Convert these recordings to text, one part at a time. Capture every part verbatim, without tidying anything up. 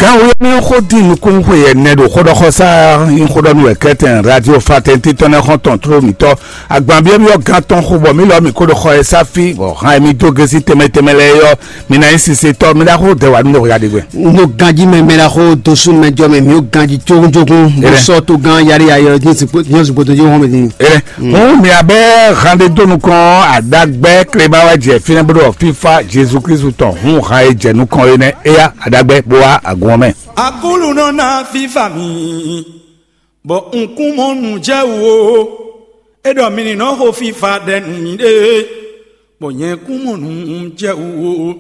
Ɛn wo mi xó dín nukún xwe yɛ nɛ ɖo xóɖɔxɔsá, nyí xóɖɔnú wɛ kɛtɛn radio fraternité tɔn nɛ xɔn tɔn tló mǐtɔn. Agbanbyɔ́byɔ́ gán tɔn xo bɔ mǐ lɔ mǐ kó ɖo xɔ e sá fí bɔ hán e mǐ dó gésí tɛnmɛ tɛnmɛ lɛ́ɛ yɔ, mǐ ná nyí sisetɔ́, mǐ ná xó dɛ wǎ nú mɛ hwɛɖagbe. N ɖo ganjí mɛ mɛ ná xó dó sú mɛ jɔ mɛ mǐ ó ganjí cógúnjógún. Mǐ sɔ́ tó gán yáɖéyáɖé ɔ́ nyɔ́sùn gbɔdɔ́ jí hɔn mɛ din. Ere hǔn mì abɛ hande dó nukɔn adagbɛ kleba wɛ jɛ fínɛ́ bó ɖɔ fífá Jezu Kristu tɔn hǔn han e jɛ nukɔn é nɛ́ éyá adagbɛ bó wá agun ɔ́ mɛ. Akúlu nɔ ná fífá mi, bɔ un kún mɔ nǔ jɛ wú ó. É ɖɔ mi ní nɔ xo fífá ɖɛ nú miɖée, bɔ nyɛ kún mɔ nǔ jɛ wú ó.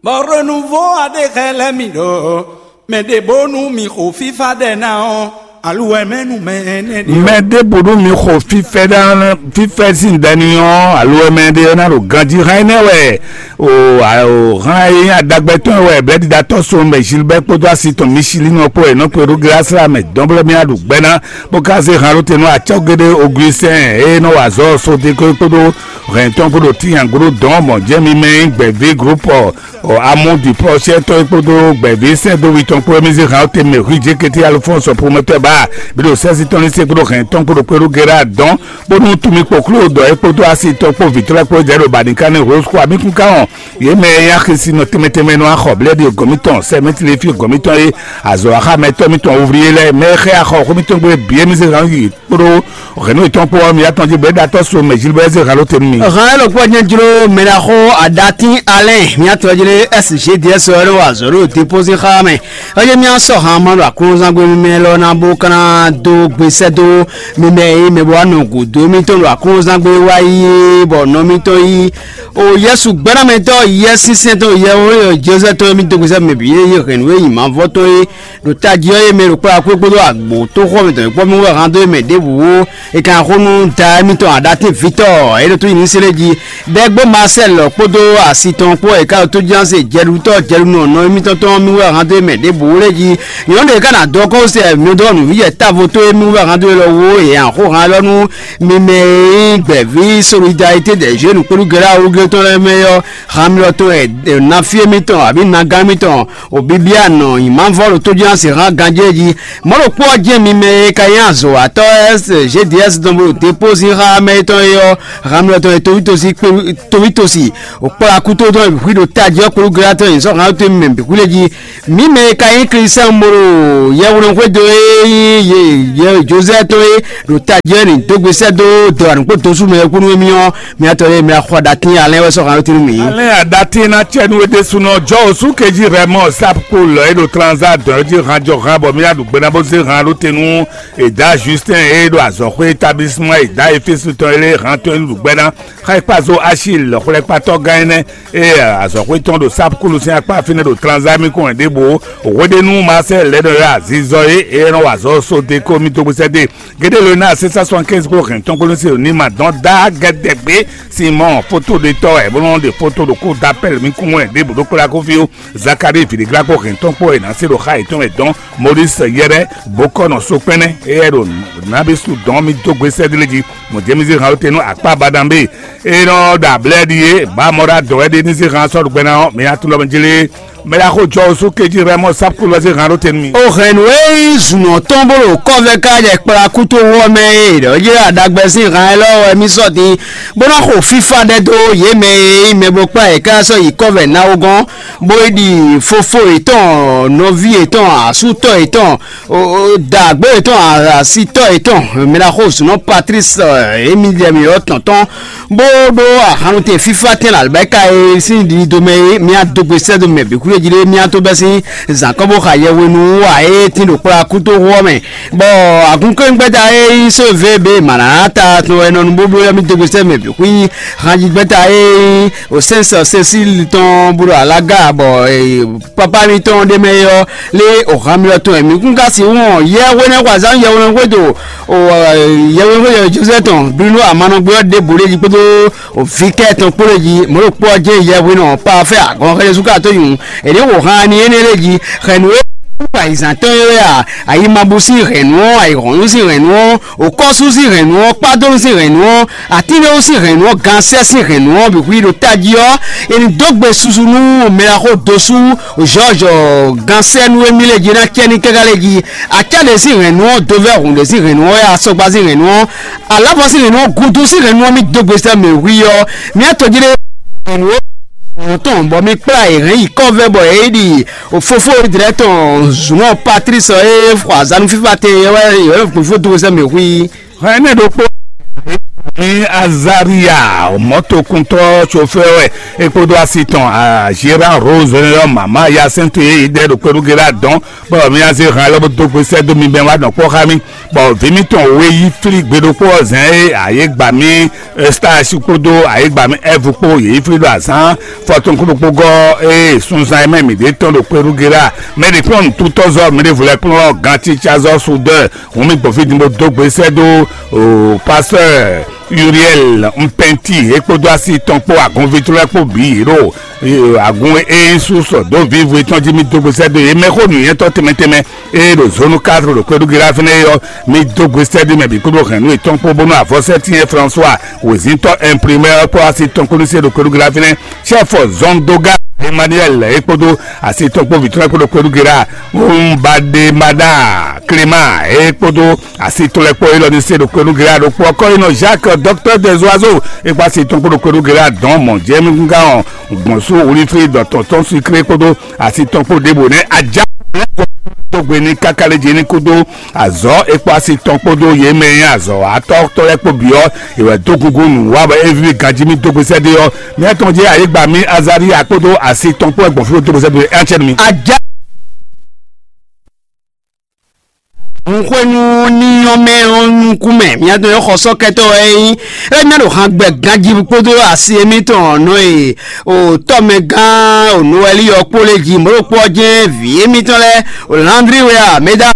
Bɔ renouveau aɖé xɛ lɛ́ mi ɖɔ mɛ ɖě bónú mi xo fífá ɖɛ ná ɔ́, aluwɛ mɛ nú mɛ énɛ́ ɖé. Mɛ ɖěbǔ nú mi xo fífɛ́ ɖa fífɛ́ sín ɖɛ ní ɔ́, aluwɛ mɛ ɖé ɔ́ ná ɖo ganjí hán énɛ́ wɛ. O, o hán e nyí adagbɛtɔ́ wɛ blɛ́ɖiɖatɔ́ so mɛ Gilbert kpódó asi tɔn Michelin ɔ́ kpó wɛ nɔ kpe ɖó glasla mɛ dɔn blɛ́ mì aɖu gbɛ́ ná, bó ka zé hán ɖó te nú acɔ́ géɖé Augustin e nɔ wa azɔ̌ sodéko kpódó hɛn tɔn kpó ɖo tíyanguɖó dɔn mɔ jɛ́n mi mɛ nyí gbɛ̌ví groupe ɔ, Amu Dupɔsɛtɔ́ e kpódó gbɛ̌ví sɛ́dó wi tɔn kpó émí zé hán ɔ́ te mɛ hwíjékété Alufɔ́nsɔ Promɛtɔ́ ba, bí ɖo sɛ́sí tɔn ní se kpódó hɛn tɔn kpódó kpéɖó Gɛra dɔn, bónú tunmi kpoklo dɔ é kpódó asi tɔn kpó vǐtɔ́ lɛ́ɛ kpó jɛ ɖo Banikani Rose kó amikún ká hɔn. Yě mɛ e nyí axisi nɔ tɛnmɛ tɛnmɛ nɔ axɔ blɛ́ɖi gɔ̌n mitɔn, sɛmɛtli fí gɔ̌n mitɔn e azɔ̌ axámɛtɔ́ mitɔn wúvlí é lɛ́ɛ, mɛ e xɛ axɔ xó mitɔn gbe bǐ émí zé hán yi kpódó hɛ̌nnu yětɔn kpó ɔ́, mi yá tɔn jí bɔ é ɖo atɔ́ so mɛ Jilibɛ́ zé halo te nú mi. Hɛn élɔ́ kpɔ́ nyɛ jló mɛ ná xó aɖatín alɛ́n mía tɔjlé S G D S ɔ́ nɔ wa azɔ̌ ɖo dépózí xá mɛ. Ɔ́ yé mía sɔ́ han ma ɖo aklúnɔzán gbé mímɛ́ lɔ ná bó ka ná dó gbe sɛ́ dó mímɛ́ e mɛ bó wá nɔ gǔdo émítɔn ɖo aklúnɔzán gbé wá yí bɔ nɔ mítɔn yí o Yɛsu gbɛ́namɛtɔ́ Yɛsinsɛn tɔn Yɛwéyɔ Jozɛ́ tɔn émí dó gbe sɛ́ mɛ bǐ yé yí hɛ̌nnu e nyi mavɔ tɔn é ɖo tají ɔ́ e mɛ ɖo kplá kpé kpódó agbo tó xɔ mɛ tɔn e kpɔ́ mɛ wɛ hán dó e mɛ ɖěbǔ ó. È ka xó nú da émítɔn aɖatínvítɔ́ e ɖo tó yi ní sélé jí. Ɖɛgbó Marcel kpódó asi tɔn kpó e ka ɖo tójínásé jɛɖutɔ́ jɛɖunɔ nɔ émítɔn tɔn mì wɛ hán dó e mɛ ɖěbǔ ó lé jí. Nyɔ̌nu ɖě ká ná dɔn kɔ́ sɛ mì dó nǔvǐjɛ távo tó émí wɛ hán dó e lɔ wó e hɛn xó hán lɔ nú mi mɛ e nyí gbɛ̌ví solidarité des jeunes kpódó gɛlá wúglé tɔn lɛ́ɛ mɛ ɔ́, hán mi lɔ tɔn e ná fí émítɔn abǐ nagán émítɔn Obibia nɔ nyǐmavɔ ɖo tójínásé hán ganjé jí. Mɔ̌ ɖokpó ɔ́ jɛ́n mi mɛ e ka nyí azɔ̌watɔ́ S G D S dɔn bó ɖo dépózín xá mɛ étɔn é ɔ́, hamlɔtɔn e tovítɔ́si kpé tovítɔ́si wòkplá kútó dɔn hwí ɖo tají ɔ́ kplú gléwatɔ́ nyi sɔ́ hán tó mɛ bǐ xwlé jí. Mǐ mɛ e ka nyí Klísián bó ɖo yɛhweɖɔxwédo e nyí yě yɛ Jozɛ́ tɔn é ɖo tají ɔ́ nyi dó gbe sɛ́ dó dɔ̌ anǔkpó dosú mɛ e kú nú émí ɔ́, mì atɔ lɛ́ɛ mì axɔ ɖatín alɛ́n wɛ sɔ́ hǎn ɔ́ tɛ́ nú mì. Alɛ́n aɖatí ná cɛ nú é ɖésúnɔ jɔ òsú kejí rɛ mɔ sápkó lɔ é ɖo tranzá dɔn ɔ́ jí han jɔ han bɔ mì aɖu gbe ná bó zé han ɖó te nú Eda Justin e ɖo azɔ̌xwé établissemant Eda Efesu tɔn é lé han tɔn é ɖu gbɛ ná. Xa é kpá zó Achil xwlɛ́kpatɔ́ gán énɛ́ e azɔ̌xwé tɔn ɖo sápkúlu sín akpá fínɛ́ ɖo tranzá mì kɔn ɖěbǔ hweɖénu Marcel lɛ́ nɔ ylɔ́ azizɔ é e nɔ wa azɔ̌ sodéko mì dó gbésɛ́ dé. Gédé lo ná sesa soixante-quinze kpó hɛn tɔn kpó nú se ní ma dɔn dá gɛdɛgbé Simɔn foto ɖe tɔ wɛ bó nɔ ɖe foto ɖokpó da pɛl mi kún wɛ ɖěbǔ ɖó kplá kó fí ó. Zakari vǐɖéglá kpó hɛn tɔn kpó wɛ ná se ɖo xa yětɔn wɛ dɔn Moris yɛɖɛ bó kɔ nɔ so kpɛnɛ éyɛ ɖo nabisu dɔn mi dó gbe sɛdlé jí. Mɔ jɛmizí hàn te nú akpá badambe e nɔ ɖo ablɛ́ ɖi é ba mɔ ɖo adɔ̌ wɛ ɖe ní zé hàn sɔ́ ɖo gbɛ ná ɔ́, mɛ atún lɔ mɛ jlé. Mɛ ɖaxó jɔ osú kejí Rɛmɔ Sápukulu wɛ zé hàn ɖó te nú mi. O hɛn nǔ e nyí zǔnɔ tɔn bó ɖo kɔ́vɛ ká jɛ kplá kútó hɔ mɛ e ɖɔ jɛ aɖagbɛ sín han élɔ́ wɛ mì sɔ́ din bó ná xo fífá ɖɛ dó yě mɛ e nyí mɛ bó kplá yě ká sɔ́ yi kɔ́vɛ náwó gɔ́n, bó yi ɖi fofo yětɔn, nɔví yětɔn, asútɔ́ yětɔn, dǎgbó yětɔn, asitɔ́ yětɔn, mɛ ɖaxó zǔnɔ Patlísi, émi jɛ mǐ ɔ́ tɔn tɔn, bó ɖó ahannutɛn fífá tɛn alibɛ́ka e sín ɖiɖido mɛ é, mía dó gbe sɛ́ dó mɛ bǐ xwlé jí ɖé mía tó bɛ́ sín zǎn kɔ́ bó xa yɛhwenu wú ǎ é tín ɖo kplá kútóxu ɔ́ mɛ. Bɔ agúnkɛ́ngbɛ́ta e nyí sóvé be mǎnátá tɔn wɛ nɔ nú bóbló ɔ́ mì dó gbe sɛ́ mɛ bǐ xwí hanjigbɛ́ta e nyí osɛ́nsɔ Sesíli tɔn bó ɖo alága bɔ papá mitɔn ɖé mɛ é ɔ́ lé ohan mitɔn tɔn mǐ kún ka sixú wɔn yɛhweɖɛ́xwazán yɛhweɖɛ́xwé do yɛhweɖɛ́xwé Jozɛ́ tɔn Blínú amanɔgbé ɔ́ ɖěbǔ lé jí kpódó vǐ kɛ́ tɔn kpó lé jí mɔ̌ ɖo kpó ɔ́ jɛ́n yɛhweɖɛ́ ɔ́ pa fɛ́ agɔn xɛ́ Jezu Klísu nyǔ. È nǐ xo han ni énɛ́ lé jí xɛ̌ nǔ e Ayǐzán tɔn e wɛ a, ayimabú sín hɛ̌nnu ɔ́, ayǐhɔ́nnu sín hɛ̌nnu ɔ́, òkɔ́sú sín hɛ̌nnu ɔ́, kpádónú sín hɛ̌nnu ɔ́, atínɖéwú sín hɛ̌nnu ɔ́, gansɛ́ sín hɛ̌nnu ɔ́, bǐ hu i ɖo tají ɔ́, è nǐ dó gbe susu nú mɛɖaxó dosú Jɔ́ɔjɔ gansɛ́ nú émí lɛ́ɛ jí ná cɛ ní káká lɛ́ɛ jí. Acá ɖě sín hɛ̌nnu ɔ́, dovɛ́hun ɖě sín hɛ̌nnu ɔ́, asɔgba sín hɛ̌nnu ɔ́, alǎvɔ sín hɛ̌nnu ɔ́, gudu sín hɛ̌nnu ɔ́, mì dó gbe sɛ́ mɛ hwí ɔ́, mì á tɔjí ɖé hɛ̌nnu tɔn bɔ mi kplá yě hɛn yi kɔ́vɛ bɔ é ɖi fofó Izlayɛ́li tɔn zǔnɔ Patlísi ɔ́ e xɔ azǎn nú fífá tɛn é wɛ é wɛ fó dó sɛ́ mɛ hwí. Hɛn énɛ́ ɖokpó ní Azaria mɔ̌tokuntɔ́ sofɛ́ wɛ é kpódó asi tɔn Azira Rose ɔ́ mama ya sɛ́ntu e yi ɖɛ ɖo kpɛɖúgbe lɛ adɔn bɔ mì azé hàn lɔ bó dó gbe sɛ́ dó mi bɛn wá nɔ kpɔ́ xá mì. Bɔ vǐ mitɔn we yí flí gbe ɖokpó ɔ́ zɛn é ayé gbà mì Stasi kpódó ayé gbà mì Ɛvu kpó yě yí flí ɖo azǎn fɔtɔn kúɖokpó gɔ́ ée sunzan e mɛ mǐ ɖe tɔn ɖo kpɛɖúgbe lɛ mɛ ɖě kplɔ́n nǔtútɔ́zɔ́ mǐ ɖěvo lɛ́ɛ kplɔ́n gǎncicázɔ́ sudɛ́. Hǔn mì gbɔn fí din bó dó gbe sɛ́ dó o pastɔ́ Uriel Mpɛnti é kpódó asi tɔn kpó agɔnví tɔn lɛ́ɛ kpó bǐ yě ɖo agun e é nyí sú sɔ dó vǐvu yětɔn jí mì dó gbe sɛ́ dó yě mɛ xó nǔnywɛ́tɔ́ tɛnmɛ tɛnmɛ e ɖo zónú kátó ɖo kpɛɖúgbe lɛ fínɛ́ é ɔ́, mì dó gbe sɛ́ dó mɛ bǐ kpódó hɛ̌nnu yětɔn kpó bónú avɔsɛ́tínyɛ François wězíntɔ́ imprimɛ́ ɔ́ kpó asi tɔn kpó nú sí e ɖo kpɛɖúgbe lɛ fínɛ́. Chɛ́fɔ zɔndóga Emmanuel é kpódó asi tɔn kpó vǐ tɔn lɛ́ɛ kpódó kpɛɖúgbe lɛ Mbaɖemaɖa Clément é kpódó asi tɔn lɛ́ɛ kpó élɔ́ ní se ɖo kpɛɖúgbe lɛ ɖokpó ɔ́ kɔ́ yi nɔ Jacques docteur des oiseaux é kpó asi tɔn kpó ɖo kpɛɖúgbe lɛ dɔn mɔ̌ jɛ mì gúngán ɔ́ gbɔn sú wlíflí dɔ̌tɔn tɔn sucré kpódó asi tɔn kpó ɖěbǔ nɛ́ ajá tó gbe ní káká lé jí ní kúdó azɔ̌ é kpó asi tɔn kpódó yě mɛ e nyí azɔ̌ atɔ́tɔ́ lɛ́ɛ kpó bǐ ɔ́, è wɛ dó gúngún nǔ wa bɔ é víví ganjí mì dó gbe sɛ́ ɖé ɔ́, mɛ tɔn jɛ ayǐgba mì Azaria kpódó asi tɔn kpó wɛ gbɔn fí dó gbe sɛ́ ɖé ɔ́, é ná cɛ nú mi. Ajá Nǔxwénú ní nyɔ́ mɛ ɔ́ nukún mɛ, mía dɔn nyɔ́ xɔsɔ́kɛtɔ́ wɛ é nyí. É ná ɖo han gbɛ ganjí kpódó asi émítɔn nɔ e o tɔ́mɛgán o Nowɛli ɔ́ kpó lé jí mɔ̌ ɖokpó ɔ́ jɛ́n vǐ émítɔn lɛ́ɛ, o Landri wɛ a, Meda,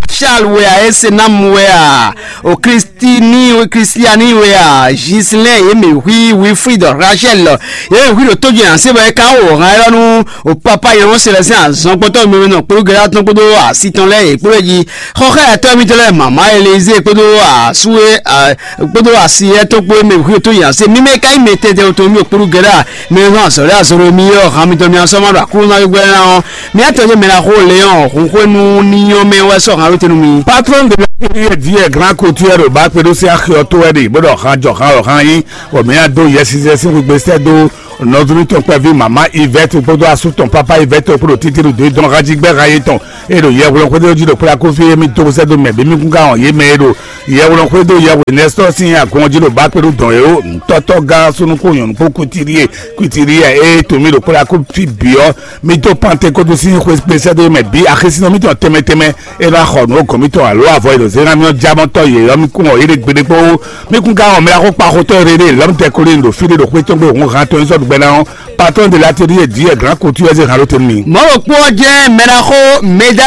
Charles wɛ a, Esenam wɛ a, o Kristini Kristiani wɛ a, Gislɛn yě mǐ hwí Wilfrid Rachel yě mǐ hwí ɖo tójú nǎ se bɔ é ka wɔ hǎn élɔ́ nú o papa nyɔ̌nu Celestin azɔn kpɔtɔ́ mɛmɛ nɔ kplú gɛlá tɔn kpódó asi tɔn lɛ́ɛ yě kplé jí xɔxɛ́yatɔ́ mitɔn lɛ́ɛ mama Elize kpódó asú e kpódó asi yɛ tɔn kpó e mɛ hwíe tó nya se mímɛ ka nyí mɛ tɛtɛ tɔn mì kplú gɛlá mɛ nɔ azɔ̌ lɛ́ɛ azɔ̌ mi ɔ́ han mitɔn mi asɔ́ ma ɖo aklúnɔ gbɛ́ ná ɔ́ mi atɔn jɛ mɛ ná xó lé ɔ́ hun xwénu ní nyɔ́ mɛ wɛ sɔ́ han ló tenu mi. Patron de la prière d'hier grand couture ba kpeɖo se axiɔ tó wɛ ɖe bó ɖɔ han jɔ han ɔ han yí bɔ mɛ ado yɛsizɛ sín xwegbe sɛ dó nɔví mitɔn kpɛví mama Yvette kpódó asú tɔn papa Yvette kpódó títí ɖo dɔn hajigbe ha yetɔn e ɖo yɛhwlɛn xwedó jí ɖo kpla kófí émí dó sɛ́ dó mɛ bí mí kún ká hɔn yé mɛ e ɖo yɛhwlɛn xwedó yɛhwlɛn nɛsítɔ́ sín agun jí ɖo bá kpé ɖo dɔn é ó ntɔ́tɔ́ gán súnúkú nyɔ̌nu kpó kutiɖíe kutiɖíe e to mì ɖo kpla kófí bǐ ɔ́, mì dó Pantekótu sín xwe kpé sɛ́ dó mɛ bǐ axésínɔ mítɔn tɛnmɛ tɛnmɛ e nɔ xɔ nǔ gɔ̌n mitɔn alo avɔ e ɖo zé ná mì ɔ́ jámɔtɔ́ yě ɔ́ mì kún ɔ yé ɖe gbeɖé kpó. Mì kún ka wɔn mɛ axó kpa xotɔ́ e ɖe lɔ̌m tɛ kolín ɖo fí ɖé ɖo xwé tɔn gbé hun han tɔn sɔ́ ɖu gbɛ ná ɔ́, patɔ́n de la teɖí e dǐ e glǎn ko tui wɛ zé han ɖó te nú mi. Mɔ̌ ɖokpó ɔ́ jɛ́n mɛ ná xó mɛ dá.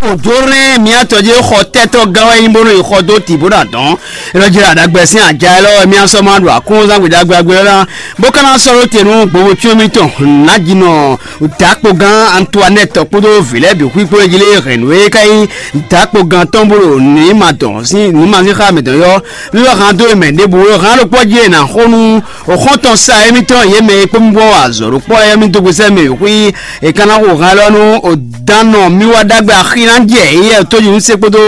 Òjórɛ́n miatɔ́ jẹ́ xɔ tɛ́tɔ́ gán wɛ nyí bónú yi xɔ dó tǐ bó ná dɔn. Elɔ́ jẹ́ aɖagbɛ sín aja élɔ́ wɛ mía sɔ́ ma ɖo akúnzán gbědágbé ɔ́ ná bó ka ná sɔ́ ɖó te nú gbowó cyɔ́n mítɔn nǎjínɔ dǎkpogán Antoinette kpódó vǐ lɛ́ɛ bǐ xwíxwé jí lé hɛ̌nnu e ka nyí dǎkpogán tɔn bó ɖo nǔ ma dɔn sín nǔ ma sín xá mǐtɔn yɔ. Lɔ hán dó mɛ ɖěbǔ lɔ hán ɖokpó jí è nǎ xó nú xɔ́ntɔn sa émítɔn yě mɛ e kpó mì gbɔn wa azɔ̌ ɖokpó lɛ́ɛ mì dó gbesẹ́ mɛ xwí è ka ná xo hán lɔ nú òdánɔ mì wá ɖagbe axi ná jɛ éyɛ́ tójú nú sé kpódó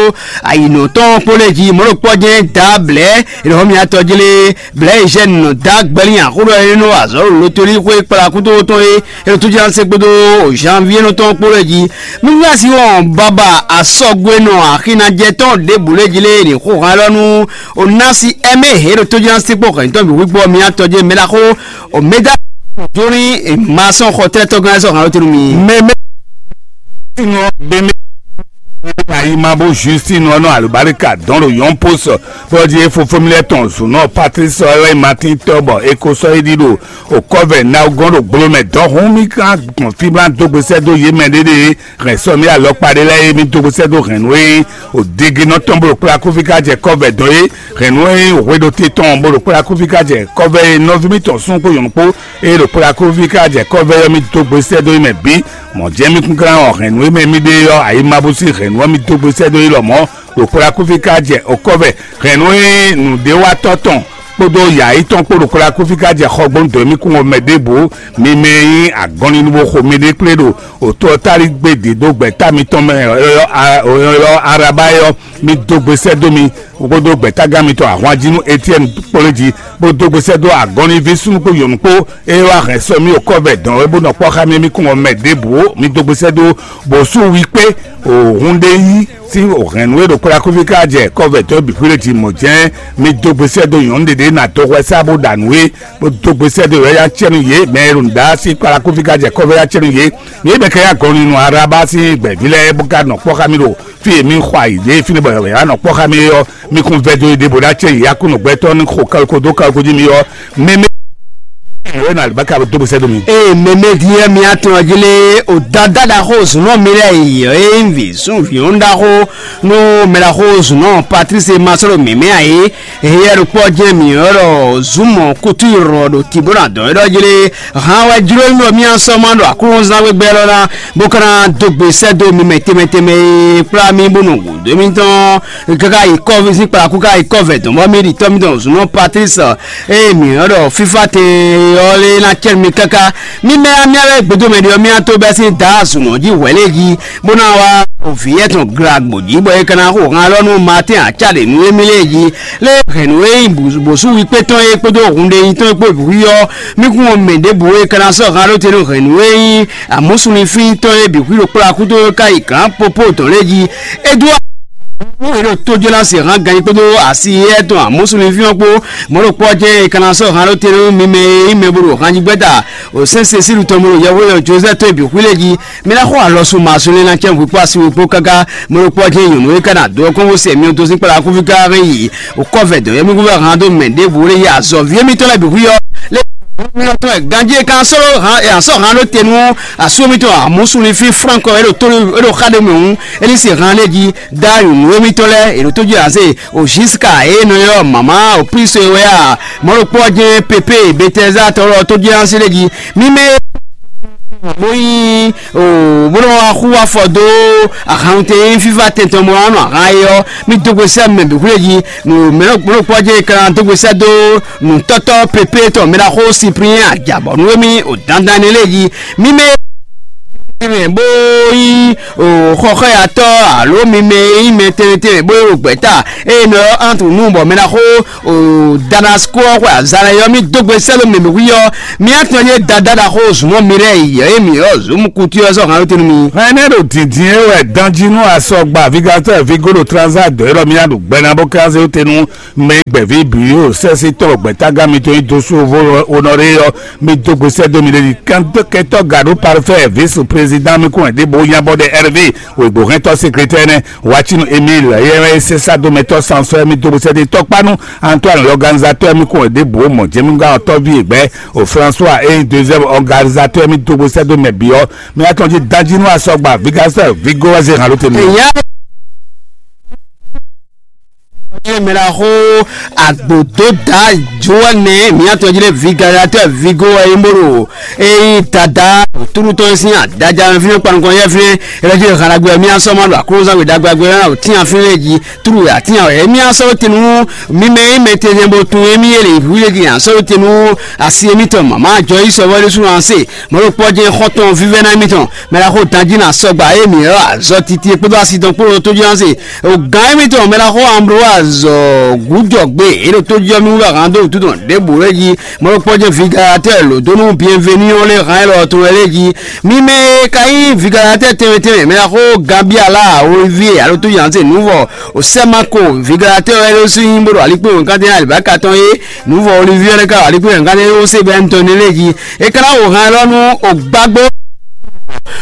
ayǐnɔ tɔn kpó lɛ́ɛ jí mɔ̌ ɖokpó jɛ́n dǎ blɛ̌ è nɔ xɔ mì atɔ jlé blɛ̌ è zɛ nɔ dǎ gbɛlí axóɖɔ é nɔ wa azɔ̌ ɖo lotolí xwé kplá kútó tɔn é é ɖo tójú ná sé kpódó janvier nɔ tɔn kpó lɛ́ɛ jí. Nú wá sí wɔn baba asɔgbe nɔ axi ná jɛ tɔn ɖěbǔ lɛ́ɛ jí lé è nǐ xo hán lɔ nú Onasi ɛmɛ he ɖo tójúná sí kpó hɛ̌ntɔn bǐ wígbɔ mì atɔjé mɛ ɖaxó Omega jóní ma sɔn xɔ tɛ́ tɔgán sɔn hàn lótenu mi. Mɛmɛ sinɔ bɛmɛ ayi ma bó Justine ɔnɔ alubarika dɔn ɖo yɔn post bɔdi e fofo mi lɛ tɔn zunɔ Patrice ɔlɛ Martin tɔ bɔ eko sɔ yi ɖi ɖo okɔvɛ na gɔn ɖo gbolo mɛ dɔn hun mi kan gbɔn fi blan dogbe sɛ do ye mɛ ɖeɖe hɛn sɔ mi alɔkpa ɖe lɛ ye mi dogbe sɛ do hɛn nu e o dege nɔ tɔn bolo kpla kofi ka jɛ kɔvɛ dɔn ye hɛn nu e hwe ɖo te tɔn bolo kpla kofi ka jɛ kɔvɛ ye nɔvi mi tɔn sun kpo yɔn kpo eye ɖo kpla kofi ka jɛ kɔvɛ yɔ mi dogbe sɛ do ye mɛ bi Mɔ̌ jɛ́n mì kúnklán ɔ́, hɛ̌nnu e mɛ mì ɖe ɔ́, ayi ma bó sín hɛ̌nnu ɔ́, mi dó gbe sɛ́ dó yi lɔmɔ̌ ɖo kplá kúfí ká jɛ okɔ́vɛ. Hɛ̌nnu e nǔɖéwatɔ́ tɔn kpódó yǎyí tɔn kpó ɖo kplá kúfí ká jɛ xɔgbónu dɔ̌n mì kún ɔ́ mɛ ɖěbǔ. Mi mɛ e nyí agɔnlinu bó xo miɖée kplé ɖo òtó ɔ́ táligbé dǐdó gbɛ̌ta mitɔn mɛ ɔ́, Araba é ɔ́, mi dó gbe sɛ́ dó mi kpódó gbɛ̌tágán mitɔn ahwanjí nú Etiɛ́ni kplé jí, bó dó gbe sɛ́ dó agɔnlíví súnnu kpó nyɔ̌nu kpó, ée wá hɛn sɔ́ mì okɔ́vɛ dɔn é bó nɔ kpɔ́ xá mì mì kún ɔ́ mɛ ɖěbǔ ó. Mi dó gbe sɛ́ dó bǒsú wi kpé òhun ɖé yí sín hɛ̌nnu e ɖo kplá kúfí ká jɛ kɔ́vɛ dɔn bǐ xwíɖé jí mɔ̌ jɛ́n. Mi dó gbe sɛ́ dó nyɔ̌nu ɖě ɖě ná dó hwɛ sá bó ɖa nǔ é, bó dó gbe sɛ́ dó yɔ̌yá cɛ́nú yě mɛ e ɖo nǔɖá sín kplá kúfí ká jɛ kɔ́vɛ yá cɛ́nú yě. Yě mɛ ka yá gɔn nú Araba sín gbɛ̌ví lɛ́ɛ bó ka nɔ kpɔ́ xá mì ɖo fí e mì xɔ ayǐ ɖe fínɛ́ bɔ yě wá nɔ kpɔ́ xá mì é ɔ́, mi kún vɛ́ dó yí ɖěbǔ ná cɛ yě yá kú nǔgbɛtɔ́ ní xo kawiko dó kawiko jí mi ɔ́, mɛmɛ wɛ nɔ alibaka dó bó sɛ́ dó mi. Ee, mɛmɛ din ɛ mi atɔn jí lé o dada ɖaxó zunɔ mi lɛ yi ɔ e vǐ sún vǐ ɔn ɖaxó nú mɛ ɖaxó zunɔ Patrice ma sɔ́ ɖo mǐmɛ́ ǎ é. Heyɛ́ ɖokpó ɔ́ jɛ́n mǐ ɔ́ ɖɔ zǔmɔ kútú yi rɔ ɖo tǐbó ná dɔn é ɖɔ jí lé. Hǎn wɛ jló mì bɔ mì asɔ ma ɖo aklúnɔzán gbɛgbɛ́ lɔ ná bó ka ná dó gbe sɛ́ dó mi mɛ tɛnmɛ tɛnmɛ e kplá mì bó nɔ gǔdo émítɔn káká yi kɔ́ sín kplakú ká yi kɔ́ vɛ dɔn bɔ mì ɖi tɔ́ mítɔn zǔnɔ Patlísi e mǐ nɔ ɖɔ fífá tɛn ɔ́ lé ná cɛ́ nú mi káká. Mì mɛ amyá wɛ gbědomɛ ɖi ɔ́, mì ató bɛ́ sín Daá zǔnɔ jí hwɛ̌ lě jí, bó ná wá vǐ yɛ́tɔn glagbo jí, bɔ é ka ná xo han lɔ nú Maatɛ́n acá ɖě nú émí lě jí. Lé hɛ̌nnu e nyí bǒsú wíkpé tɔn é kpódó hunɖe nyi tɔn é kpó bǐ ɔ́, mì kún mɔ mɛ ɖěbǔ e ka ná sɔ́ han ɖó te nú hɛ̌nnu e nyí amǔsúnlifín tɔn é bǐ xwí ɖo kplɔ́ akúto ká yi gǎn popó dɔn lɛ́ɛ jí. É dó é ɖo tójó ná se han ganjí kpódó asi éyɛ́ tɔn amǔsúnlifín ɔ́ kpó. Mɔ̌ ɖokpó ɔ́ jɛ́n è ka ná sɔ́ han ɖó te nú mi mɛ e nyí mɛ bo ɖo hanjígbɛ́ta o sɛ́n Sesílu tɔn bo ɖo yɛhweɖɔ Jozɛ́f tɔn e bǐ xwí lɛ́ɛ jí. Mi ná xo alɔ sun mazɔn lé ná cɛ́n hwikpó asi hwikpó káká. Mɔ̌ ɖokpó ɔ́ jɛ́n nyɔ̌nu e ka ná dó ɔ́ kɔn bó se myɔ dó sín kplá kúfí ká hɛn yi kɔ́vɛ dɔn yɛmíkún vɛ́ han dó mɛ ɖěbǔ lé yi azɔ̌ví émítɔn lɛ́ɛ bǐ xwí ɔ́ lé. Tɔn ganjí e kan sɔ́ han e asɔ́ han ɖó te nú asú émítɔn amǔsúnlifí Flánk ɔ́, é ɖo tó é ɖo xá ɖé mɛ hǔn, é ní se han lé jí dá nyɔ̌nu émítɔn lɛ́ɛ è ɖo tó jí azé o Ziska e nɔ ylɔ́ mama o Plíso e wɛ a mɔ̌ ɖokpó ɔ́ jɛ́n Pepée Betɛzá tɔn lɔ tó jí azé lé jí. Mi mɛ bó nyí o bó nɔ wá xú afɔ dó ahan tɛ nyí fífá tɛntɔn mɔ anɔ ahan é ɔ́, mì dó gbe sɛ́ mɛ bǐ xwlé jí. Nǔ mɛ ɖokpó jɛ kan dó gbe sɛ́ dó nǔtɔ́tɔ́ pépé tɔn mɛ ɖaxó Siplín ajabɔnú émí o dandan énɛ́ lé jí. Mi mɛ mɛ bó nyí o xɔxɔyatɔ́ alo mi mɛ e nyí mɛ tɛnmɛ tɛnmɛ bó nyí o gbɛ̌ta eye nɔ ɔ́ Antru nú bɔ mɛ ɖaxó o Damasko ɔ́ xwe azalɛ ɔ́, mì dó gbe sɛ́ dó mɛ bǐ xwí ɔ́, mì atɔn yé dada ɖaxó zǔnmɔ mi lɛ́ɛ yi ɔ́, emi ɔ́ zǔn kutu ɔ́ sɔ́ han ɖó te nú mi. Hɛn nɛ́ ɖo dǐndín e wɛ danjí nú asɔgba vigatɔ́ vigo ɖo transa dɔ̌ élɔ́ mì ná ɖo gbɛ ná bó kánzé te nú mɛ gbɛ̌ví bǐ ɖo sɛ́sí tɔn gbɛ̌tágán mitɔn nyi dó sú onɔɖé ɔ́, mi dó gbe sɛ́ dó mi ɖe ɖi kɛntɔ́ gaɖó parfɛ́ vice président mi kún ɖěbǔ nyabɔ ɖɛ Hervé wěgbóhɛntɔ́ sekrétɛ́ nɛ́. Wacinu Emile yɛ́ sésá dó mɛtɔ́ sansɔ́ mi dó gbe sɛ́ dó tɔkpánu Antoine l'organisateur mi kún ɖěbǔ mɔ jɛmígán ɔtɔ́ví e gbɛ́ o François e deuxième organisateur mi dó gbe sɛ́ dó mɛ bǐ ɔ́, mi atɔn jí danjí nú asɔgba vigasɛ vigo wá zé hàn ló te mi. Èyí á mɛ la xó agbǒdó dá Joane mi atɔn jí lé vigasatɔ vigo wɛ yín bó ɖo eyi dada túrútɔn sín adaja fínɛ́ kpanukɔn yɛ fínɛ́. Ɛlɛjɛ halagbɛ mi asɔmɔ ɖo aklúnzangbe ɖagbagbɛ ɔ́ tínafín lɛ jí túrú atín awɛ émí asɔ́ tenu mímɛ émɛ tɛnɛn bó tún émí yé lè hu lé din asɔ́ tenu asi émítɔn mama jɔ yi sɔvɔ ɖésú anse mɔɖokpɔ jɛ xɔtɔn vívɛ́ná émítɔn mɛɖaxó danjí na sɔgba émí ɔ azɔ titi kpódó asi tɔn kpódó tójú anse o gán émítɔn mɛɖaxó Ambroise gúdɔgbe é ɖo tójú ɔmí wúlò ahán dó wútu tɔn ɖěbǔ lé jí mɔɖokpɔ jɛ vigalatɛ lǒdónú bienvenu ɔ́ lé hán élɔ́ tɔn wɛ lé jí. Mi mɛ e ka nyí vigalatɛ tɛnmɛ tɛnmɛ mɛ xó Gabiala Olivier alo tó yanze nuvɔ o Sɛmako vigalatɛ wɛ lé sú nyí bó ɖo alikpé wěnkatɛn alibaka tɔn é nuvɔ Olivier lé ka ɖo alikpé wěnkatɛn é ó se bɛ ntɔn ne lé jí. E ka ná wò hɛn lɔ nú o gbágbó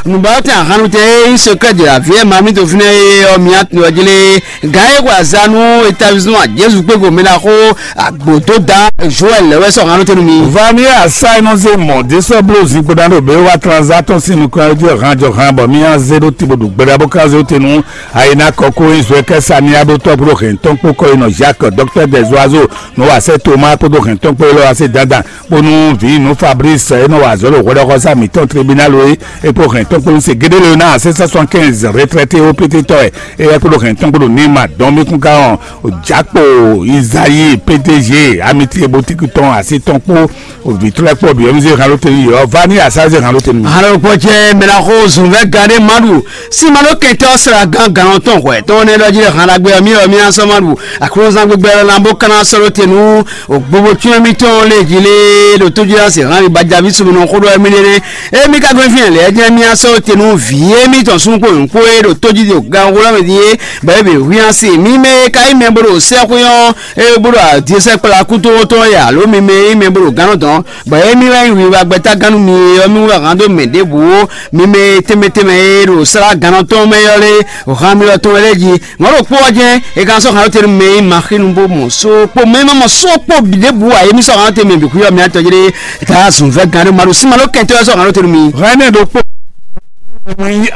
nùbáwɔtɛn ahannutɛ e nyí secret de la vie ma mi to fínɛ́ é ɔ́ mi atun ɔ́ jlé. Gǎn e xwe azá nú établissement Jezu kpégo mɛ ná xó agbǒdó dán Joël lɛ́ wɛ sɔ́ hannú tɛnu mi. Vamia sa e nɔ zé mɔ̌ dé sɔ́ bló zinkpo ná ɖo bě wá tranzatɔn sín nukɔn jí hán jɔ hán bɔ mía zé ɖó tibo ɖo gbeɖá bó ká zé te nú ayina kɔkó nyi zɔɛ kɛ samiya ɖó tɔ́ kpó hɛn tɔn kpó kɔ yi nɔ Jacques docteur des oiseaux nɔ wa sɛ Thomas kpódó hɛn tɔn kpó élɔ́ wa sɛ dandan kpó nú vǐ nú Fabrice e nɔ wa azɔ̌ ɖo hwɛɖɔxɔsá mǐtɔn tribunal é é kpó hɛn tɔn kpó se gédé lé ná six cent soixante-quinze retraité ó pété tɔ ɛ. Eye kpódó hɛn tɔn kpódó ní ma dɔn mí kún ká ɔn. Jakpo Isayi P D G amitié boutique tɔn asi tɔn kpó vitulɛ kpó bi ɔmizé han ló tɛnu yɔ vani asaze han ló tɛnu. Halo kpɔcɛ mɛlaxo zunvɛ gade madu simalo kɛntɛ sra gan gan tɔn hwɛ tɔn ne lɔji han la gbɛ mi ɔ mi asɔ madu aklozan gbɛgbɛ lɔ na bo kana sɔlo tenu o gbogbo tún mi tɔn le ji le ɖo tójú la se han mi ba javi sumu nɔ xo ɖɔ mi ne ne e mi ka gbɛ fi lɛ jɛ mi asɔ tenu vi e mi tɔn sun kpo nkpo e ɖo tójú de gan wolo mi di e bɛ e bɛ hu ya se mi mɛ ka yi mɛ bo ɖo sɛ xo yɔ e bo ɖo adiɛsɛ kpla kuto tɔn ya alo mi mɛ yi mɛ bo ɖo gan dɔn bɔ émí wɛ nyí wiwa gbɛtágánnu mi ɔ́ mí wɛ hán dó mɛ ɖěbǔ ó. Mi mɛ e tɛnmɛ tɛnmɛ e ɖo slá gannɔ tɔn mɛ ɔ́ lé han mi lɔ tɔn wɛ lɛ́ɛ jí. Mɔ̌ ɖokpó ɔ́ jɛ́n è ka sɔ́ han ló tɛnu mɛ e ma xí nu bó mɔ só kpó mɛ e ma mɔ só kpó bǐ ɖěbǔ ǎ. Émí sɔ́ han ló tɛnu mɛ bǐ xwí ɔ́ mi atɔ jlé. È ka zun vɛ́ gannú ma ɖo sí ma ló kɛntɔ́ wɛ sɔ́ han ló tɛnu mi. Hɛn ɛnɛ ɖokpó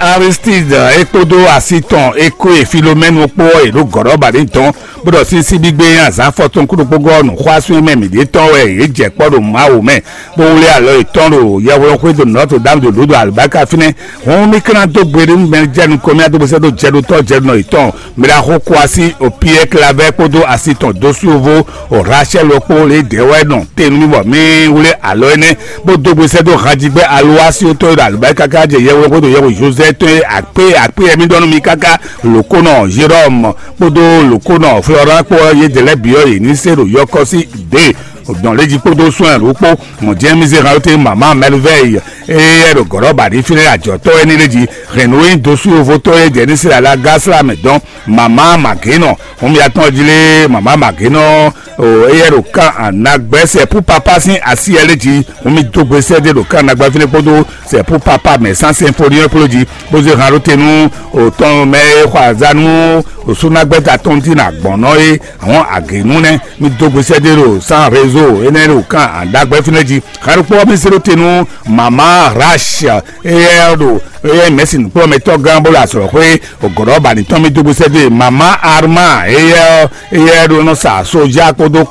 Aristide e kpódó asi tɔn e kó e Filomɛnu kpó ɔ́, è ɖǒ gɔ̌ ɖɔ ba ní dɔn bó ɖɔ sísí gbígbé nyi azǎn afɔtɔn kúɖokpógɔ́ nǔxwásún e mɛ mǐ ɖe tɔn wɛ yě jɛ kpɔ́ ɖo Mawu mɛ, bó wlí alɔ yětɔn ɖo yɛhweɖɔxwé ɖo Notre Dame de Lourdes alubáka fínɛ́. Hǔn mì ka ná dó gbe ɖé nú mɛ jɛ nukɔn mì adó gbèsè ɖó jɛɖotɔ́ jɛɖunɔ yětɔn, mɛ ɖaxó Kwasi o Piyɛ́ɛ Klavɛ́ kpódó asi tɔn dó sú yovo o Rachel kpó lě dɛ̌ wɛ nɔ te nú mì bɔ mì wlí alɔ énɛ́, bó dó gbèsè ɖó hanjigbɛ alowásíwótɔ́ e ɖo alubáka káká jɛ yɛhweɖɔxwé ɖo yɛhwe Josɛ́ tɔn e akpé akpé yɛ mì ɖɔ nú mi káká lǒkónɔ Jérɔ́mu kpódó lǒkónɔ Florán kpó ɔ́, yědɛɛ lɛ́ɛ bǐ ɔ́, yě ní se ɖo yɔkɔ́ sí ɖě dɔn lé jí kpódó sɔn ɛ ɖokpó. Mɔ̌ jɛ́n mì zé han ɔ́ té mama Mɛlvɛ́yi, eye é ɖo gɔ̌ ɖɔ ba ɖi fínɛ́ ajɔ̌tɔ́ wɛ ní lé jí. Hɛn nǔ e nyí dó sú yovo tɔn e jɛ ní se alagá slá mɛ dɔn mama Magěnɔ. Hǔn mì atɔn jí lé mama Magěnɔ, o, éyɛ́ ɖo kan anagbɛ́ sɛ pú papá sín así ɛ lé jí. Hǔn mì dó gbe sɛ́ ɖé ɖo kan anagbɛ́ fínɛ́ kpódó sɛ pú papá mɛ sán sɛnfoni ɔ́ kpló jí, bó zé han ɖó te nú òtɔn mɛ e xɔ azǎn nú òsúnagbɛ́ta tɔn dín agbɔ̌nɔ é. Àwọn àgěnú nɛ́ mì dó gbe sɛ́ ɖé ɖo sán rézo énɛ́ ɖo kan anagbɛ́ fínɛ́ jí. Han ɖokpó ɔ́ mì zé ɖó te nú mama Rash, éyɛ́ ɖo éyɛ́ mɛ̌si nǔkplɔ́mɛtɔ́ gán bó ɖo azɔ̌xwé ògɔ̌ɖɔ́ ba ní tɔn mì dó gbe sɛ́ ɖé mama Arma, éyɛ́ éyɛ́ ɖo nɔ sa sójá kpódó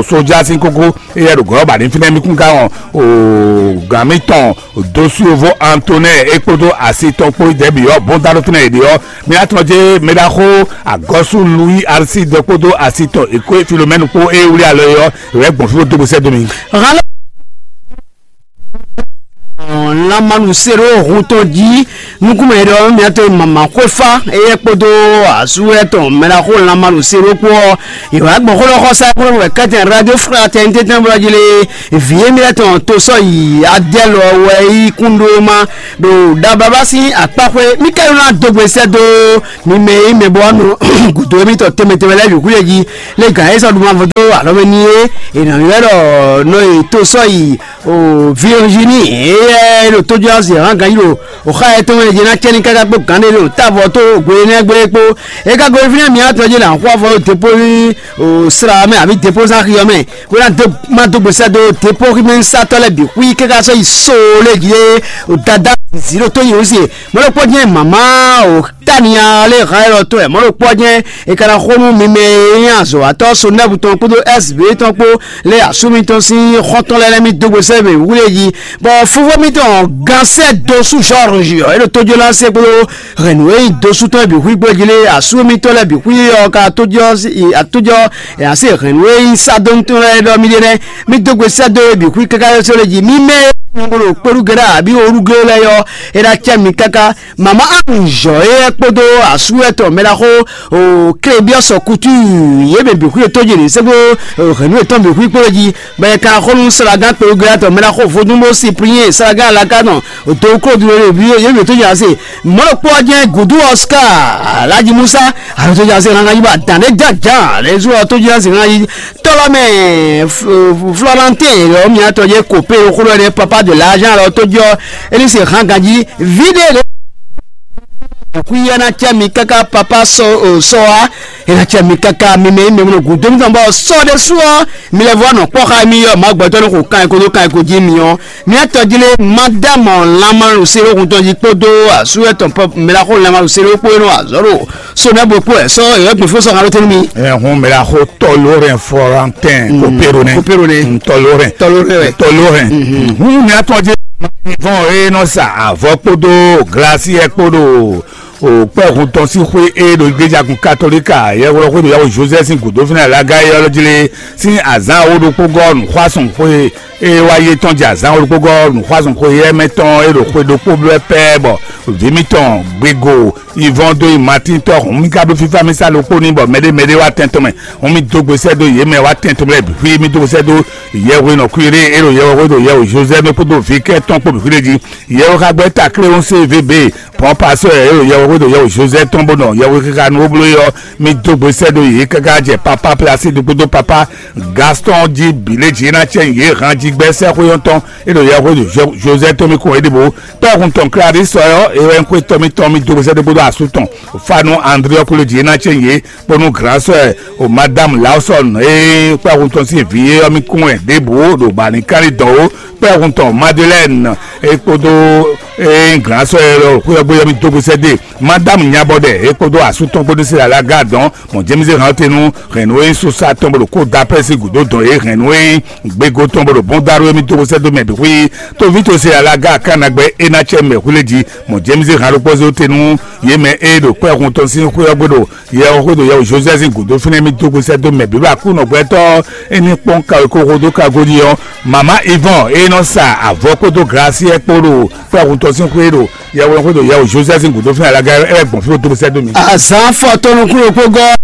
sójá sín kókó. Éyɛ́ ɖo gɔ̌ ba ní fínɛ́ mì kún ká wɔn o gǎn mì tɔn dó sú yovo Antonɛ́ɛ é kpódó asi tɔn kpó dɛ̌ bǐ ɔ́ bɔ́n dá ɖó fínɛ́ yě ɖe ɔ́. Mì atɔn jé mɛ ɖaxó agɔ́sú Louis Arsi dɔ kpódó asi tɔn èkó Filomɛ́nu kpó é wlí alɔ é ɔ́, è wɛ gbɔn fí bó dó gbe sɛ́ dó mi. Lanmanu se ɖo hun tɔn jí nukúnmɛ ɖɔ mìatɔn mama xwéfá eyɛ kpódó asú etɔn mɛɖaxó lanmanu se ɖo kpó ɔ́, ìwà gbɔn xó lɔ xɔ sa kúrò wɛ kɛtɛ radio fraternité tɛn bɔ jí lé vǐ émi etɔn to sɔ yi adɛlɔ wɛ yi kúndó ma ɖo dababa sín akpáxwé mí kɛlu ná dógbe sɛ dó mi mɛ yi mɛ bɔ nɔ gǔdo émi tɔ tɛmɛ tɛmɛ lɛ yǔkú yɛ jí lé gǎn é sɔ ɖu ma vodó alɔ mɛ ní é è nɔ ylɔ́ ɖɔ nɔ yi to sɔ yi o Virginie, éyɛ́ ɖo tójúásì hán ganjí ɖo òxá yɛ tɔn mɛ jɛ ná cɛ́ ní káká kpó gǎn ɖé ɖo tábɔ tó gbe énɛ́ gbé kpó. É ka gosín fínɛ́ mǐ atɔn jí là ń xó afɔ ɖó dépó ní o sra mɛ àbí dépó sá xi ɔ́ mɛ bó ná dó má dó gbèsè dó dépó xí mɛ sátɔ́ lɛ́ɛ bǐ xwí káká sɔ́ yi sóo lé jí o dada zǐ ɖo tó yi wǔ se mɔ̌ ɖokpó jẹ́ màmá o tania lé hán élɔ́ tɔn ɛ mɔ̌ ɖokpó jẹ́ è ka ná xó nú mi mɛ e nyí azɔ̌watɔ́ Sonɛ́bu tɔn kpódó S B tɔn kpó lé asú mitɔn sín xɔ́ntɔn lɛ́ɛ lɛ́ɛ mì dó gbe sɛ́ mɛ wúlé jí. Bɔ fofó mitɔn gan sɛ́ dó sú George ɔ́, é ɖo tójó ná sɛ́ kpódó hɛ̌nnu e nyí dó sú tɔn bǐ xwí gbé jí lé asú mitɔn lɛ́ɛ bǐ xwí ɔ́ ka tójó atójó ɛ así hɛ̌nnu e nyí sádó mitɔn lɛ́ɛ ɖɔ mì ɖe nɛ́. Mì dó gbe sɛ́ dó e bǐ xwí káká yɔ só lé jí. Mì mɛ e nyí kpódó kpéɖú gɛ́ɖá àbí orú gɛ́ lɛ́ɛ ɔ́, é ná cɛ mi káká. Mama Anzɔ éyɛ́ kpódó asú etɔn mɛ ɖaxó o Klebiɔsɔ Kutu yě mɛ bǐ xwí etɔ́ jí ɖě sɛ́gbó hɛ̌nnu etɔn bǐ xwí kpó jí bɔ è ka xó nú Salagán kpelugbeatɔ mɛ ɖaxó vodúnbó Cyprien Salagán alakánɔ do klódu yě mɛ tó jí ase mɔ̌ ɖokpó ɔ́ jẹ́ Gǔdú Oscar Alhaji Musa alo tó jí ase hàn jí bá dǎn ɖé jǎjǎ lě zú ɔ́ tó jí ase hàn jí tɔ́lɔmɛ Florentin lɔ mia tɔ jẹ́ kò pé xó lɔ ɖé papa de l'argent lɔ tó jí ɔ́ é ní se hàn ganjí ví ɖé ɖé. Xwíyá ná cɛ mi káká papa sɔ o sɔ wa é ná cɛ mi káká mi mɛ mi mɛ gǔdo mi tɔn bɔ sɔ ɖé sú ɔ mi lɛ vɔ nɔ kpɔ xa mi yɔ ma gbɛtɔ ní xo kan ko do kan ko jí mi ɔ mi atɔ jí lé madame lanmalu se ɖo kun tɔn jí kpódó asu etɔn pɔ mɛ la xo lanmalu se ɖo kpó nɔ azɔ ɖo so nɛ bo kpó ɛ sɔ yɔ gbɛfo sɔ xa ló tɛnu mi. Ɛ hun mɛ la xo tɔlorɛn Florentin Kopéronais. Kopéronais. Tɔlorɛn. Tɔlorɛn wɛ. Tɔlorɛn. Hun mi atɔ jí. Vɔn e nɔ sa avɔ kpódó glasiɛ kpódó o kpɛhun tɔn sín xwé e ɖo iglejagun katolika yɛwlɔ xwé ɖo yawo Joseph sín gǔdo fínɛ alaga yɔlɔ jlé sín azán awo ɖokpó gɔ́ nǔxwásɔn xwé e wá yé tɔn jɛ azán awo ɖokpó gɔ́ nǔxwásɔn xwé yɛ mɛ tɔn e ɖo xwé ɖokpó blɛ́ pɛ́ bɔ vǐ mitɔn gbego Ivɔn dó yi Matín tɔ́ hǔn mì ka bló fífá mì sá ɖokpó n'i bɔ mɛɖé mɛɖé wá tɛn tɔn mɛ. Hǔn mì dó gbe sɛ́ dó yě mɛ wá tɛn tɔn mɛ lɛ́ɛ bǐ xwí mì dó gbe sɛ́ dó Yɛhwe nɔ Kwirée e ɖo Yɛhwe xwé ɖo Yɛhwe Jozɛ́ mɛ kpódó vǐ kɛ́ tɔn kpó bǐ xwí ɖé jí. Yɛhwe xá gbɛ́ ta Kléwɔ́n C V B pɔ́n pasɔ́ e ɖo Yɛhwe xwé ɖo Yɛhwe Jozɛ́ tɔn bó nɔ Yɛhwe xixa nú ó bló é ɔ́, mì dó gbe sɛ́ dó yě káká jɛ papá Plasídu kpódó papá Gastɔn jí bǐ lě jí é ná cɛ nyi yě han jí gbɛ́ sɛ́xwé ɔ́ tɔn e ɖo Yɛhwe ɖo Jozɛ́ tɔn mì kɔn é ɖěbǔ. Kpɛ́hun tɔn Klari sɔ ɔ́, é wɛ nyí xwé tɔn mì tɔn mì dó gbe sɛ́ dó kpódó asú tɔn Fanu André ɔ́ kplé jí é ná cɛ nyi yě kpó nú Glǎnsɔ́ o Madame Lawson e kpɛ́hun tɔn sín vǐ é ɔ́ mì kún wɛ ɖěbǔ ɖo bǎ ní kán ní dɔn ó. Kpɛ́hun tɔn Madeleine e kpódó e nyí Glǎnsɔ́ e lɔ xwé ɔ́ gbé ɔ́ mì dó gbe sɛ́ dó e. Madame Nyabɔɖɛ e kpódó asú tɔn kpódó Sila Lagarde dɔn mɔ James hɛn ɔ́ te nú hɛ̌nnu e nyí Susa tɔn bó ɖo kó da pɛ́ sín gǔdo dɔn e hɛ̌nnu e nyí gbego tɔn bó ɖo bɔ́n dó arú émí dó xwésɛ́dó mɛ bǐ xwí. Tóví to se alaga akánagbɛ́ é ná cɛ mɛ xwlé jí mɔ James hɛn ɖokpɔ́ zé te nú yě mɛ e ɖo kpɛ́hun tɔn sín xwé ɔ́ gbe ɖo yɛ ɔ́ xwé ɖo yɛ Josɛ́ sín gǔdo fínɛ́ mì dó xwésɛ́dó mɛ bǐ ɖo Aklúnɔ gbɛtɔ́ é ní kpɔ́n ka e kó xo dó ka godi ɔ́. Mama Ivɔn e nɔ sa avɔ kpódó glasiɛ kpó ɖo kpɛ́hun tɔn sín xwé ɖo yɛ wɛ xwé ɖo yɛ Josɛ́ sín gǔdo fínɛ́ alaga ɛ gbɔn fí dó xwésɛ́dó mi. Azǎn fɔ tɔnukúnukpógɔ́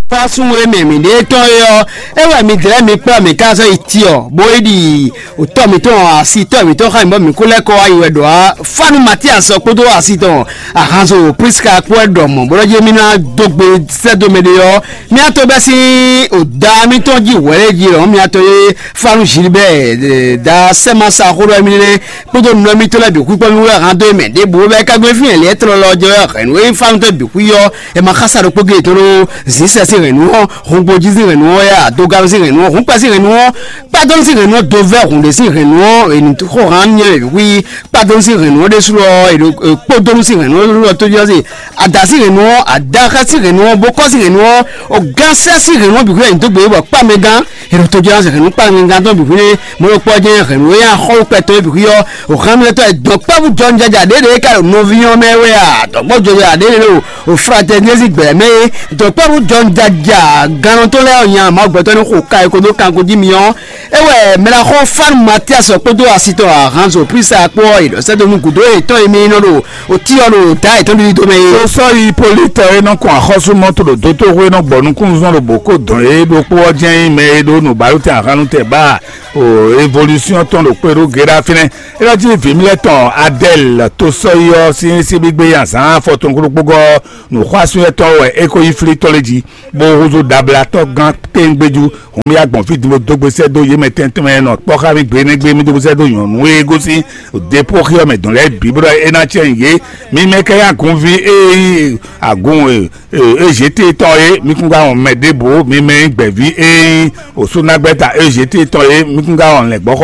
fásún e mɛ mǐɖée tɔn é ɔ́, é wɛ mi dlɛ́ mi kplá mǐ ká zɔ́ yi Tiɔ, bó yi ɖi tɔ́ mǐtɔn asi tɔ́ mǐtɔn xá mǐ bɔ mǐ kó lɛ́ kɔ wá yi wɛ ɖɔ á. Fánu Matias ɔ́ kpódó asi tɔn ahanzo Priska kpó wɛ ɖɔ mɔ̌ bó ɖɔ jí émí ná dó gbe sɛ́ dó mɛ ɖé ɔ́, mía to bɛ́ sín da mǐtɔn jí hwɛ̌ jí lɔ̌n mía to e Fánu Gilbert da sɛ́ ma sa xó ɖɔ émí lé kpódó nɔ mítɔn lɛ́ɛ bǐ xwíkpɔ́ mì wɛ hán dó mɛ ɖěbǔ bɔ é ka gbé fí hɛn lě e tlɔlɔ jɛ wɛ hɛ̌nnu e fá nú tɔ́ bǐ xwí ɔ́, è ma xá sa ɖokpó géé tɔn ɖó zǐnsɛ́ sín hɛ̌nnu ɔ́, hɔngbó jí sín hɛ̌nnu ɔ́, yá adógánú sín hɛ̌nnu ɔ́, hǔnkpɛ sín hɛ̌nnu ɔ́, kpádónú sín hɛ̌nnu ɔ́, dovɛ́ hǔn ɖé sín hɛ̌nnu ɔ́, è nǐ xó hán nyɛ bǐ xwí. Kpádónú sín hɛ̌nnu ɔ́ ɖésú ɔ́, è ɖo kpódónú sín hɛ̌nnu ɔ́ ɖésú ɔ́ tójúɔ́sí, adǎ sín hɛ̌nnu ɔ́, adáxá sín hɛ̌nnu ɔ́, bókɔ́ sín hɛ̌nnu ɔ́, ɔgán sɛ́ sín hɛ̌nnu ɔ́ bǐ xwí è nǐ dó gbě bɔ kpá mɛ gán. È ɖo tojɔ́ ná se hɛ̌nnu kpá mɛ gán tɔn bǐ xwí nɛ́. Mɔ̌ ɖokpó ɔ́ jɛ́n hɛ̌nnu e nyi axɔ́wúkpɛ tɔn é bǐ xwí ɔ́, o xánmɛtɔ́ e dɔ̌nkpɛ́vú jɔnjɔja ɖě ɖě ka ɖo nɔví ɔ́ mɛ wɛ a? Dɔ̌nkpɛ́vú jɔnjɔja ɖě ɖě ɖo o fratɛnizí gbɛ̌ mɛ é. Dɔ̌nkpɛ́vú jɔnjɔja gannɔ tɔn lɛ́ɛ ɔ́ nya Mawu gbɛtɔ́ ní xo ka e ko dó kanko jí mi ɔ́, é wɛ mɛɖaxó Fanu Matias kpódó asi tɔn Ahanzo Prisa kpó ɔ́, è ɖɔ sɛ́ dó nú gǔdo yětɔn e mi nɔ ɖo o Tiɔ́ ɖo dǎ yětɔn ɖiɖi dó mɛ é. Tó sɔ́ yi Politɔ e nɔ kɔn axɔ́súmɔtò ɖo dótóxwé nɔ gbɔ nukúnnuzɔn ɖo bǒ kó dɔn é ɖokpó ɔ́ jɛ́n nyí mɛ e ɖó nǔbálòtɛn ahan nú tɛ bá o evolúsyɔn tɔn ɖo kpé ɖó Gera fínɛ́. É nɔ cí vǐ mlɛ́ tɔn Adɛl tó sɔ́yi ɔ́ sín síbígbé azǎn afɔtɔn kúɖokpógɔ́ nǔxwásúnyɛ́tɔ́ wɛ é ko yí flí tɔn lé jí, bó húzú dablatɔ́ gán kpéńgbéjú. Hǔn mì wá gbɔn fí din bó dó gbe sɛ́ dó yě mɛ tɛntɛn mɛ nɔ kpɔ́ xá mì gbe énɛ́ gbe mì dó gbe sɛ́ dó nyɔ̌nu e gosín Depóxi ɔ́ mɛ dɔn lɛ́ɛ bǐ bó ɖɔ é ná cɛ nyi yě. Mi mɛ kɛ nyí agunví e nyí agun e Ezetée tɔn é, mi kún ka wɔn mɛ ɖěbǔ, mi mɛ e nyí gbɛ̌ví e nyí osúnagbɛ́ta Ezetée tɔn é, mi kún ka wɔn lɛ̌ngbɔ́xɔ